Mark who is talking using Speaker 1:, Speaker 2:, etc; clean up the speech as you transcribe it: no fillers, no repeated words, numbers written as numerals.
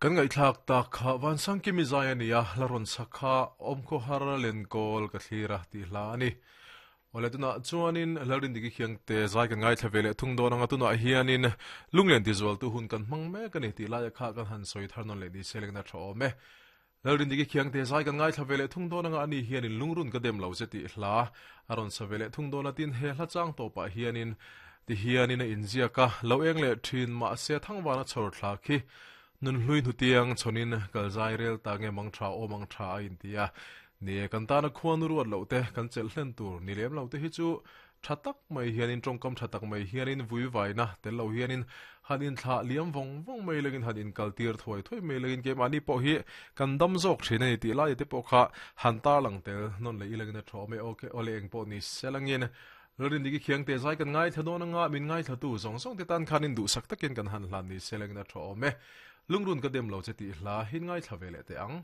Speaker 1: Kan ngaihthlak tak kha Vansangkimi zai a ni a, hla rawn sak kha Awmkhawhar Lenkawl ka thlir a tih hla a ni. Awle tunah chuanin Lalrindiki Khiangte zai kan ngaithla ve leh thung dawn anga tunah hianin lunglen tizualtu hun kan hmang mek a ni tih laia kha kan han sawi thar nawn leh ni se lengna tha awm e. Lalrindiki Khiangte zai kan ngaithla ve leh thung dawn anga ani hianin lungrun ka dem lo che tih hla a rawn sa ve leh thung dawn a tin he hla chang tawpah hianin ti hianin a inziak a, lo eng leh thin mahse thangvana chhawr thla khi Nunhlui hnutiang chhawnin kal zai rel ta nge mang tha aw mang tha a inti a. Ni e, kan tana khuanu ruat loh te, kan chelh hlen tur ni lem lo te hi chu tha tak mai hianin tawngkam tha tak mai hianin vui vaina tel lo hianin han inthlah liam vawng vawng mai lengin han inkal tir thuai thuai mai lengin keimahni pawh hi kan dam zawk thin a ni tih laia te pawh kha han tarlang tel nawn leh ilangin a tha awm e. Ok, awle eng pawh ni selangin Lalrindiki Khiangte zai kan ngaithla dawn anga min ngaithlatu zawng zawng te tan khanin duhsak takin kan han hlan ni selangin a tha awm e. Lungrun ka dem lo che tih hla hin ngaithla ve leh teh ang.